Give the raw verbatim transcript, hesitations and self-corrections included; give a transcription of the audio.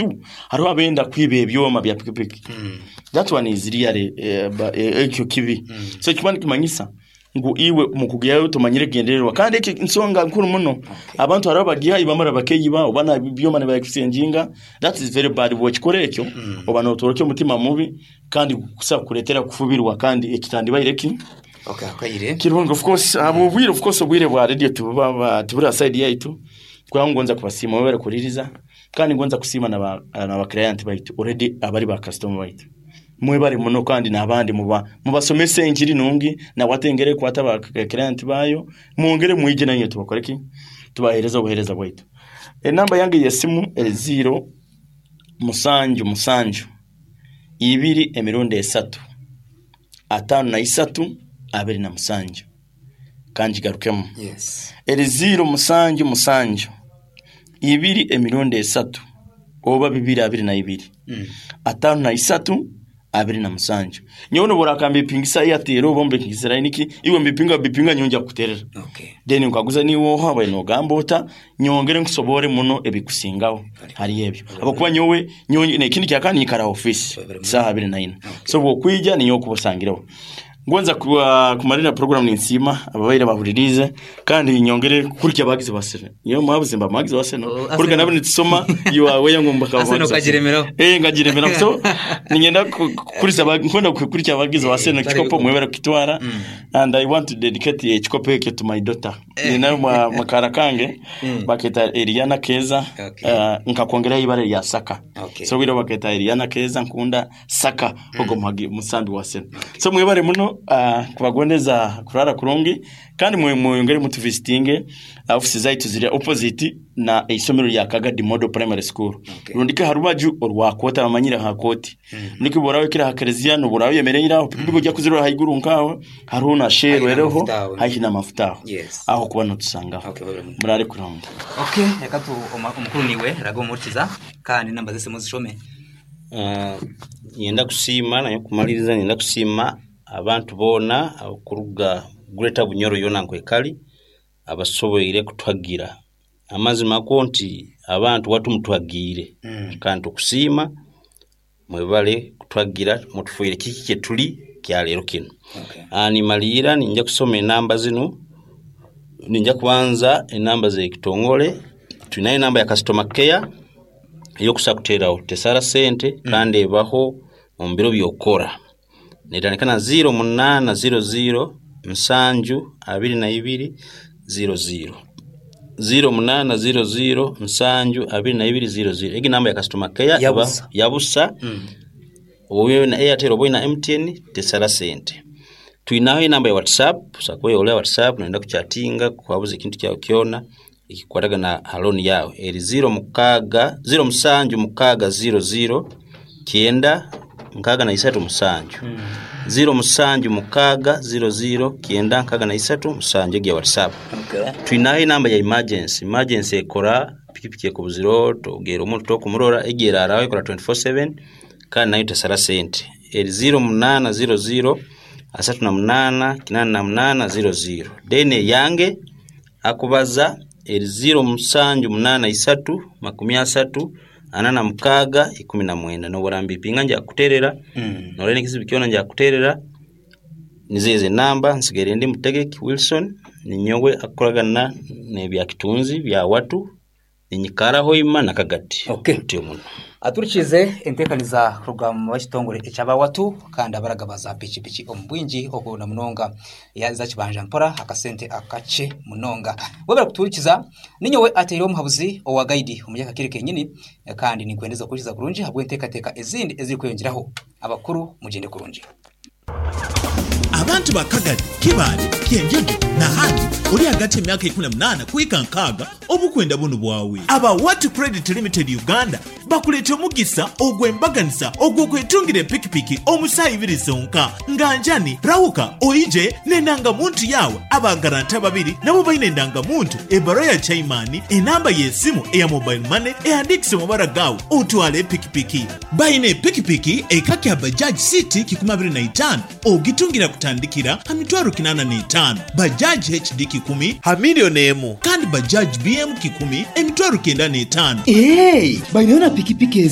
Hariho abenda kwiba ebyoma bya pikipiki. That one is really eh, ba- eh, ekyo kibi. So ekikuba nikimanyisa ngu iwe mukugihayo tomanyire ekigendererwa, kandi ekyo nsonga nkuru muno. Abantu hariho abagihayo bamara bakeyiba oba na byoma nibaexchanginga. That is very bad. Bwokikora ekyo, oba notworeka omutima mubi kandi kusa kukuretera kufubirwa, kandi ekitandibaire ki Okay, akaire. Kirungi. Of course abo obwire, of course obwire bwa radio tibuba ba- tibura side yaitu. Kubanga ngonza kubasiima mwebale kuririza, kandi ngonza kusiima naba naba client baitu already, abari ba customer baitu. Mwebale muno, kandi n'abandi muba mubasomese enjiri nungi, nawatengere kwata ba client bayo, mwongere mwije nanye tubakore ki, tubahereza obuhereza bwaitu. Enamba yange y'esimu eri zero musanju musanju ibiri emirundi esatu ataano na isatu abiri na musanju. Kanjigarukemu. Yes. Eri zero musanju musanju ibiri emirundi esatu oba bibiri abiri na ibiri Mm. ataano na isatu abiri na musanju. Nyowe noburakamba ipingisa Airtel oba mbipingisa niki, iwe mbipinga bipinga, nyonja kukuterera. Okay. Then nkaguza niwe ohawe nogamba ota, nyongere nkusobore muno ebikusingaho hari ebyo, abakuba nyowe nyowe nekindi kyakandi nyikara office saha abiri na ina. So bwokwija ninyowe kubusangireho. Ngonza kuwa kumalira program ninsiima ababaire bahuririze, kandi nyongere kurya abagizi basene. Nyowe mwabuzimba abagizi basene. Oh, kurya nabo nitusoma you are weya ngomba. Arsenal ukagiremeraho. Eh, ngagiremera. So ningenda ku- kuriza aba- nkunda kurya abagizi basene. Eh, Kikopo mwebera kukitwara. Mm. And I want to dedicate ekikopo ekyo to my daughter. Ninayo mwa makara kange Mm. baketa Eliana Keza. Okay. uh, nkakwongeraho ibara rya Saka. Okay. So bwira baketa Eliana Keza nkunda Saka ogo muhagi musambi wa sena. So mwebare muno, uh, kubagondeza kurara kurungi, kandi mwe mwongere mutuvisitinge. Office zaitu ziri opposite na isomero lya Kagadi Model Primary School. Okay. Rundike harubaju orwakota bamanyire ha koti. Niki borawe kira hakereziya no borawe yemereira pikipiki ojya kuzirora haiguru nkaho hariho na shero Haihi ereho n'amafuta aho. Haihi n'amafuta aho. Yes. Aho kuba notusangaho. Okay, babere muno. Murare kurungi. Okay, reka tu oma- omukuru niwe raga omurikiza, kandi namba z'esimu zishome. Uh, nyenda kusiima, naye kumaliriza nyenda kusiima abantu boona okuruga Greater Bunyoro yona nkwekali abasoboire kutwagira. Amazima ko nti abantu watumutwagiire. Mm. Kandi tukusiima, mwebale kutwagira, mutufuire kiki kyetuli kyaleero kino. Okay. Ah, nimaliira ninja kusoma enamba zinu. Ninja kubanza enamba zekitongole. Tulinayo enamba ya customer care eyokusa kuteerawo, tesara sente kandi ebaho omu biro byokukora. Netandika na zero munaana zero zero nsanju abiri na ibiri zero zero, zero munaana zero zero nsanju abiri na ibiri zero zero. Egi namba ya customer care eba- Yabusa. Yabusa. Mm. Oba na Airtel oba na M T N, tesara sente. Twinaho enamba ya WhatsApp, sakuba WhatsApp noyenda kuchatinga, kwabuza ekintu kyawe kyona ekikwatagana ha loan yawe, eri zero mukaaga zero musanju mukaaga zero zero kyenda nkaaga na isatu musanju, zero musanju mukaaga zero zero kyenda nkaaga na isatu musanju, egi ya WhatsApp. Okay. Twinaho enamba ya emergency. Emergency ekora pikipiki ekubuziro, togera omuntu tokumurora, egi eraraho, ekora twenty-four seven kandi nayo tesara sente. Eri zero munaana zero zero asatu na munaana kinaana na munaana zero zero. Then eyange akubaza eri zero musanju munaana isatu makumi asatu ana na mukaaga ikumi na mwenda. Nobora mbipinga nja kuterera. Mm. Norena ekizibu kyona nja kuterera. Nizezo enamba. Nsigaire ndi Mutegeki Wilson, ninyowe akukoragana n'ebya kitunzi bya watu, ninyikaraho ima nakagati. Okay. Ntyo muno. Aturikize enteekaniza kuruga mu bakitongole ekyabawatu, kandi abaragaba za pikipiki omu bwingi okuna munonga ya za kibanja mpora akasente akace munonga. Webera kuturikiza, ninyowe ateire omuhabuzi owa guide omunyaka kiri kenyini, kandi ninkwendeza kurikiza kurungi habw'enteekateeka ezindi ezirikweyongeraho. Abakuru mugende kurungi. Abantu ba Kagadi, Kibaale, Kyenjojo nahandi oli hagati emyaka ekumu na munaana kuhika nkaaga, obukwenda buno bwawe. Aba Watu Credit Limited Uganda bakuleeta omugisa ogw'embaganisa ogw'okwetungira epikipiki omusaha ibiri zonka. Nga njani rawuka oije n'endangamuntu yawe. Abagaranta babiri nabo balina endangamuntu, ebbaluwa ya chaimani, enamba y'esimu eya mobile money ehandikise mu mabara gaawe, otwale epikipiki. Balina epikipiki eka kya Bajaj City kikumi abiri na itaano, ogitungira kutandika Ekutandikira ha mitwaro kinana n'etaano, Bajaj H D kikumi ha milioni emu, kandi Bajaj B M kikumi emitwaro kenda n'etaano. Hey, baineyo na pikipiki.